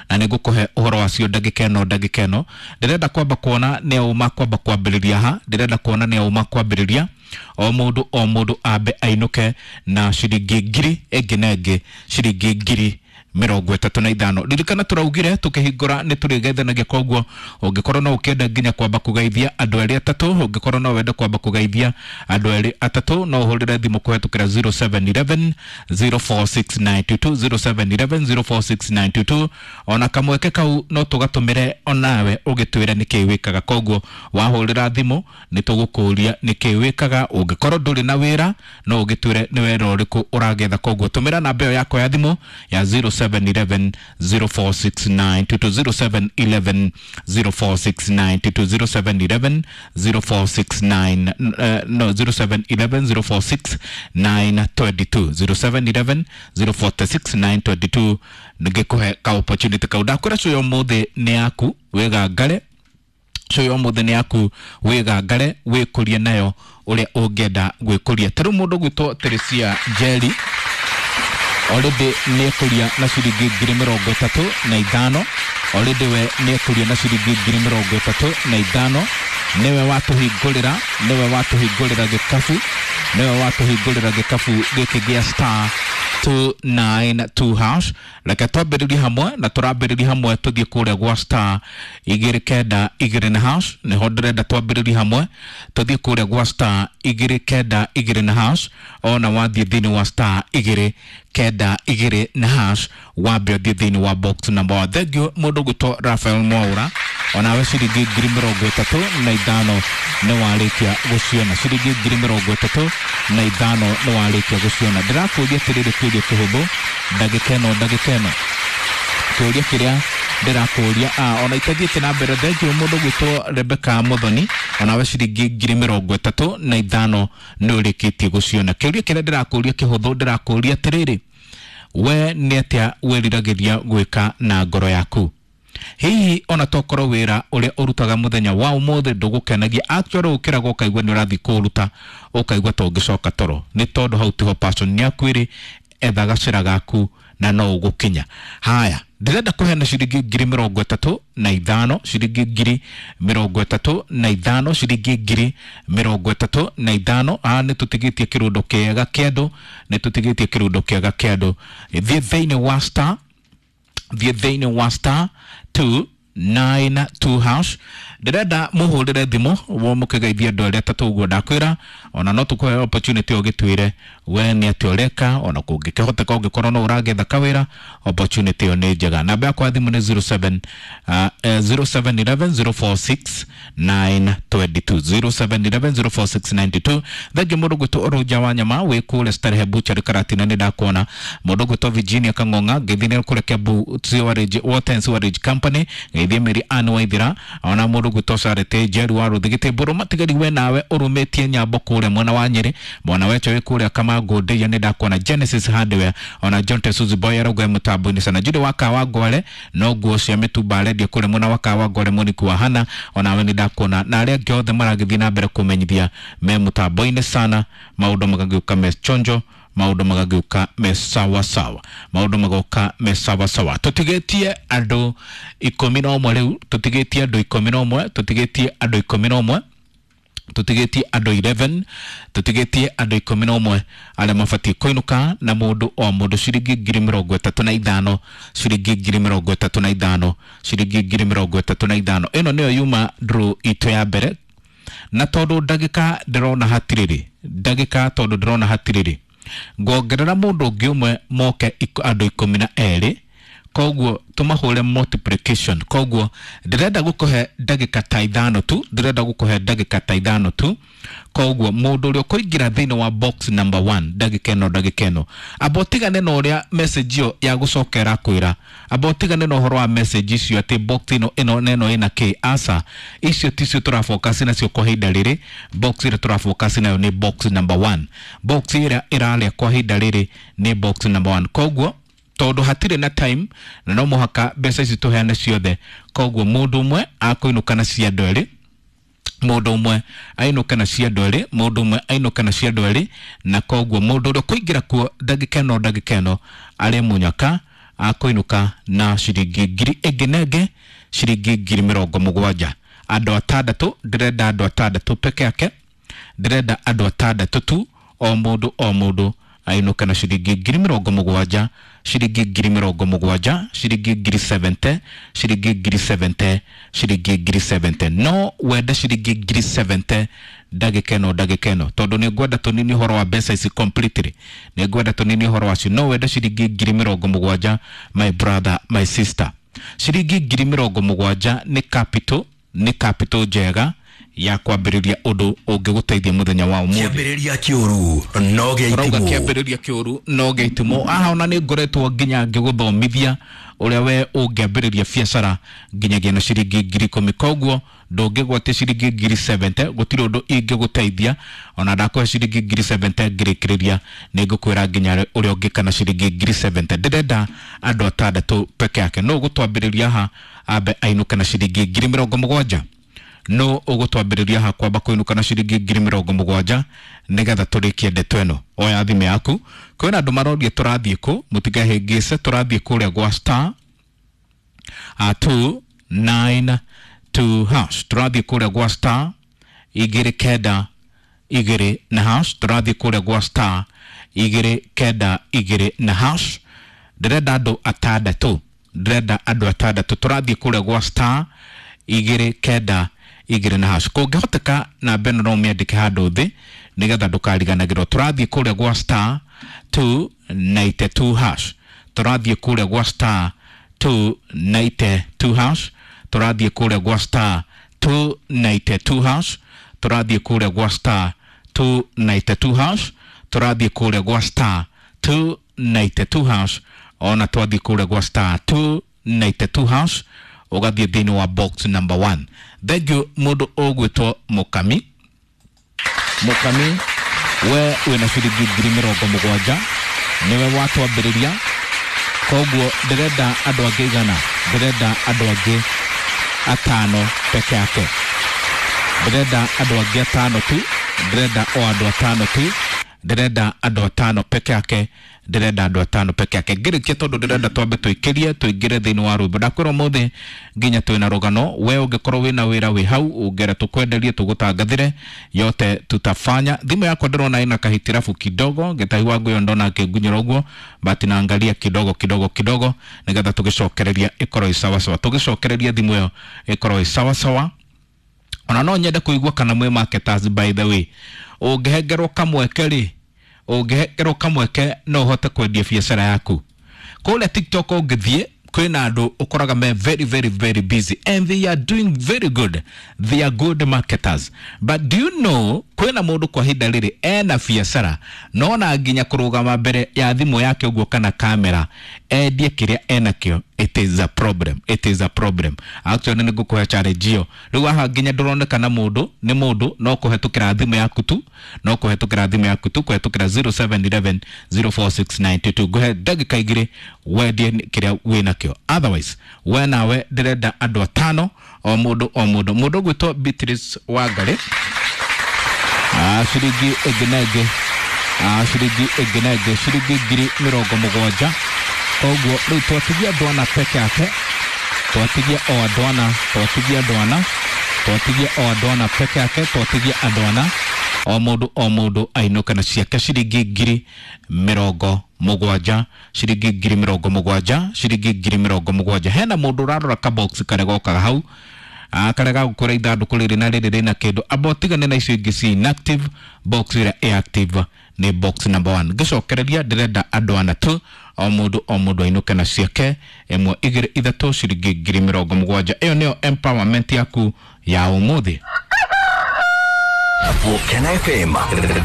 Na nĩ ngũkũhe ũhoro wacio ndagĩka ĩno. Ndagĩka ĩno ndĩrenda kwamba kuona nĩ auma kwamba kwambĩrĩria ha, ndĩrenda kuona nĩ auma kwambĩrĩria. O mũndũ o mũndũ ambe ainũke na ciringi ngiri ĩngĩ na ĩngĩ ciringi 35,000. Ririkana tũraugire tũkĩhingũra nĩ tũrĩgeithanagia, koguo ũngĩkorwo no ũkĩenda nginya kwamba kũgeithia andũ erĩ atatũ, ũngĩkorwo no wende kwamba kũgeithia andũ erĩ atatũ, no ũhũrĩre thimũ kũhetũkĩra 0711 046922, 0711 046922. Ona kamweke kau no tũgatũmĩre onawe ũgĩtwĩre nĩkĩĩ wĩkaga. Koguo wahũrĩra thimũ nĩ tũgũkũria nĩkĩĩ wĩkaga. Ũngĩkorwo ndũrĩ na wĩra, no ũgĩtwĩre nĩ wĩra ũrĩkũ ũragetha. Koguo tũmĩra namba ĩyo yakwa ya thimũ ya 0711 046922, 0711 046922, 0711 0469, no, 0711 046 922, 0711 046 922, ngĩkũhe ka opportunity kau. Ndakwĩra cuyo ũmũthĩ nĩ yaku, wĩgangare. Cuyo ũmũthĩ nĩ yaku, wĩgangare, wĩkũrie nayo ũrĩa ũngĩenda gwĩkũria. Ta rĩu mũndũ gwĩtwo Teresia Njeri already nĩ ekũria na ciringi 35,000. Already we nĩ ekũria na ciringi 35,000. Nĩwe watũhingũrĩra, nĩwe watũhingũrĩra gĩkabu, nĩwe watũhingũrĩra gĩkabu gĩkĩ gĩa star 292 hash. Reke twambĩrĩrie hamwe na tũrambĩrĩria hamwe tũthiĩ kũrĩa gwa star 292 na hash. Nĩho ndĩrenda twambĩrĩrie hamwe, tũthiĩ kũrĩa gwa star 292 na hash. Ona wathiĩ thĩinĩ wa star 292 na hash, wambe ũthiĩ thĩinĩ wa box number 1. Thank you mũndũ gwĩtwo Rafael Mwaura, onawe ciringi 35,000 nĩ warĩkia gũciona. Ciringi 35,000 nĩ warĩkia gũciona. Ndĩrakũria atĩrĩrĩ, kĩũria kĩhũthũ ndagĩka ĩno, ndagĩka ĩno kĩũria kĩrĩa ndĩrakũria ona itathiĩte na mbere. Thank you mũndũ gwĩtwo Rebecca Muthoni, onawe ciringi 35,000 nĩ ũrĩkĩtie gũciona. Kĩũria kĩrĩa ndĩrakũria kĩhũthũ, ndĩrakũria atĩrĩrĩ, we nĩ atĩa wĩriragĩria gwĩka na ngoro yaku? Hihi ona tokorwo wĩra ũrĩa ũrutaga mũthenya wa ũmũthĩ ndũgũkenagia, actually ũkĩraga ũkaigua nĩ ũrathiĩ kũũruta ũkaigua ta ũngĩcoka toro, nĩ tondũ hau tiho passion yaku ĩrĩ. Etha gacĩra gaku na no ũgũkinya. Haya, ndĩrenda kũheana ciringi 35,000, ciringi 35,000, ciringi 35,000. Haha nĩ tũtigĩtie kĩrũndo kĩega kĩa andũ, nĩ tũtigĩtie kĩrũndo kĩega kĩa andũ. Thiĩ thĩinĩ wa star, thiĩ thĩinĩ wa star 292 hash. Ndĩrenda mũhũrĩre thimũ wo mũkĩgeithia andũ arĩa atatũ ũguo ndakwĩra. Ona no tũkũhe opportunity ũgĩtwĩre we nĩ atĩa ũreka. Ona kũngĩkĩhoteka, ũngĩkorwo no ũragetha kawĩra, opportunity ĩyo nĩ njega. Namba yakwa ya thimũ nĩ 07 0711 046 922, 0711 046 92. Thengi mũndũ gwĩtwo Rũnja wa Nyama wĩ kũrĩa Starehe Butchery Karatina, nĩ ndakuona. Mũndũ gwĩtwo Virginia Kang'ong'a, ngeithi nĩ kũrĩa Kiambu Sewerage, Water and Sewerage Company. Ngeithie Mary Ann Waithira, ona mũndũ gwĩtwo Charity Njeru wa Rũthigĩtĩ Mbũrũ Matigari, we nawe ũrũmĩtie nyambo kũrĩa mwena wa Nyĩrĩ. Mwana wecho wĩ kũrĩa Kamangũ Ndeiya, nĩ ndakuona. Genesis Hardware, ona John Tesuzi Boy arauga mũtambo-inĩ sana. Judy wa Kawa Ngware, no nguo cia mĩtumba arendia kũrĩa mwena wa Kawa Ngware. Monique wa Hana, onawe nĩ ndakuona, na arĩa angĩ othe maragĩthiĩ na mbere kũmenyithia me mũtambo-inĩ sana. Maũndũ magagĩũka me chonjo, maũndũ magagĩũka me sawa sawa, maũndũ magoka me sawa sawa. Tũtigĩtie andũ 11 rĩu, tũtigĩtie andũ 11, tũtigĩtie andũ 11, tũtigĩtie andũ 11, tũtigĩtie andũ 11 arĩa mabatiĩ kũinũka na mũndũ o mũndũ ciringi 35,000, ciringi 35,000, ciringi 35,000. Ĩno nĩyo yuma draw itũ ya mbere, na tondũ ndagĩka ndĩrona hatirĩrĩ, ndagĩka tondũ ndĩrona hatirĩrĩ, ngongerera mũndũ ũngĩ ũmwe moke andũ 12. Koguo tũmahũre multiplication. Koguo ndĩrenda gũkũhe ndagĩka ta 5 tu, ndĩrenda gũkũhe ndagĩka ta 5 tu. Koguo mũndũ ũrĩa ũkũingĩra thĩinĩ wa box number 1 ndagĩka ĩno, ndagĩka ĩno, amba ũtigane na ũrĩa message ĩyo ya gũcokera kwĩra, amba ũtigane na ũhoro wa message icio atĩ box ĩno ĩno na ĩno ĩna kĩ. Aca, icio ticio tũrafocus nacio kwa ihinda rĩrĩ. Box ĩrĩa tũrafocus nayo nĩ box number 1. Box ĩrĩa ĩrarĩa kwa ihinda rĩrĩ nĩ box number 1. Koguo tondũ hatirĩ na time na no mũhaka mbeca ici tũheane ciothe, koguo mũndũ ũmwe akũinũka na cia andũ erĩ, mũndũ ũmwe ainũke na cia andũ erĩ, mũndũ ũmwe ainũke na cia andũ erĩ. Na koguo mũndũ ũrĩa ũkũingĩra kuo ndagĩka ĩno, ndagĩka ĩno, arĩ mũnyaka Akũinũka na ciringi ngiri ĩngĩ na ĩngĩ, ciringi 70,000. Andũ atandatũ, ndĩrenda andũ atandatũ peke yake, ndĩrenda andũ atandatũ tu, o mũndũ o mũndũ ainũke na ciringi 70,000, ciringi 70,000, ciringi 70,000, ciringi 70,000, ciringi 70,000. No wende ciringi 70,000 ndagĩka ĩno, ndagĩka ĩno, tondũ nĩ ngwenda tũnini ũhoro wa mbeca ici completely, nĩ ngwenda tũnini ũhoro wacio. No wende ciringi 70,000, my brother, my sister? Ciringi 70,000 nĩ capital, nĩ capital njega ya kwambĩrĩria ũndũ ũngĩgũteithia mũthenya wa ũmũthĩ. Kĩambĩrĩria kĩũru no gĩa Ũrauga itimũ. Kĩambĩrĩria kĩũru no gĩa itimũ. Aha ona nĩ ngoretwo nginya ngĩgũthomithia ũrĩa we ũngĩambĩrĩria biacara nginyagia na ciringi 10,000. Koguo ndũngĩgwatia ciringi 70,000, gũtirĩ ũndũ ingĩgũteithia. Ona ndakũhe ciringi 70,000 ngĩrĩkĩrĩria nĩ ngũkwĩra nginya ũrĩa ũngĩka na ciringi 70,000. Ndĩrenda andũ atandatũ peke yake. No ũgũtwambĩrĩria haha ambe ainũke na ciringi 70,000? No ũgũtwambĩrĩria haha kwamba kũinũka na ciringi 70,000 nĩgetha tũrĩkie ndeto ĩno? Oya thimũ yaku. Kwĩna andũ maroria tũrathiĩ kũ, mũtikahĩngĩce, tũrathiĩ kũrĩa gwa star 292 hash. Tũrathiĩ kũrĩa gwa star 292 na hash. Tũrathiĩ kũrĩa gwa star 292 na hash. Ndĩrenda andũ atandatũ, ndĩrenda andũ atandatũ. Tũrathiĩ kũrĩa gwa star 292 na hash. Kũngĩhoteka namba ĩno no ũmĩandĩke handũ thĩ nĩgetha ndũkariganagĩrwo. Tũrathiĩ kũrĩa gwa star 292 hash. Tũrathiĩ kũrĩa gwa star 292 hash. Tũrathiĩ kũrĩa gwa star 292 hash. Tũrathiĩ kũrĩa gwa star 292 hash. Tũrathiĩ kũrĩa gwa star 292 hash. Ona twathiĩ kũrĩa gwa star 292 hash, ũgathiĩ thĩinĩ wa box number 1. Thank you. Mũndũ ũgwĩtwo Mũkami, Mũkami, we wĩna ciringi 70,000, nĩwe watwambĩrĩria. Koguo ndĩrenda andũ angĩ 100, ndĩrenda andũ angĩ atano peke yake, ndĩrenda andũ angĩ atano tu, ndĩrenda o andũ atano tu, ndĩrenda andũ atano peke yake, ndĩrenda andũ atano peke yake. Ngĩrĩkia, tondũ ndĩrenda twambe tũikĩrie tũingĩre thĩinĩ wa rwĩmbo. Ndakwĩra ũmũthĩ nginya twĩna rũgano. We ũngĩkorwo wĩna wĩra wĩ hau ũngĩenda tũkwenderie, tũgũtangathĩre, yote tutafanya. Thimũ yakwa ndĩrona ĩna kahitirabu kidogo, gĩtahi wangu ĩyo ndona akĩngunyĩra ũguo, but naangalia kidogo kidogo kidogo nĩgetha tũgĩcokereria ĩkorwo ĩ sawasawa, tũgĩcokereria thimũ ĩyo ĩkorwo ĩ sawasawa. Ona no nyende kũigua kana mwĩ marketers, by the way. Ũngĩhengerwo kamweke rĩ, ũngĩhengerwo kamweke no ũhote kwendia biacara yaku kũrĩa TikTok? Ũngĩthiĩ kwĩna andũ ũkoraga me very very very busy and they are doing very good, they are good marketers. But do you know kwĩna mũndũ kwa ihinda rĩrĩ ena biacara no na nginya kũrũgama mbere ya thimũ yake ũguo kana kamera endie kĩrĩa enakĩo, it is a problem, it is a problem actually. Nĩ ngũkũhe challenge ĩyo rĩu. Haha nginya ndũronekana mũndũ nĩ mũndũ, no kũhetũkĩra thimũ yaku tu, no kũhetũkĩra thimũ yaku tu, kũhetũkĩra 0711 04692. Ngũhe ndagĩka 2 wendie kĩrĩa wĩnakĩo. Otherwise we nawe ndĩrenda andũ atano, o mũndũ o mũndũ. Mũndũ ũgwĩtwo Beatrice Wangari, ciringi ĩngĩ na ĩngĩ, ciringi ĩngĩ na ĩngĩ, ciringi 70,000. Koguo rĩu twatigia andũ ana peke yake, twatigia o andũ ana, twatigia andũ ana, twatigia o andũ ana peke yake, twatigia andũ ana, o mũndũ o mũndũ ainũke na ciake ciringi 70,000, ciringi 70,000, ciringi 70,000. Hena mũndũ ũrarora kabox karĩa gokaga hau, karĩa gagũkũra ithandũkũ rĩrĩ na rĩrĩ rĩna kĩndũ. Amba ũtigane na icio ingĩ ci inactive, box ĩrĩa ĩ active nĩ box number 1. Ngĩcokereria, ndĩrenda andũ ana tu, o mũndũ o mũndũ ainũke na ciake, ĩmwe, igĩrĩ, ithatũ, ciringi 70,000. Ĩyo nĩyo empowerment yaku ya ũmũthĩ. Volcano FM.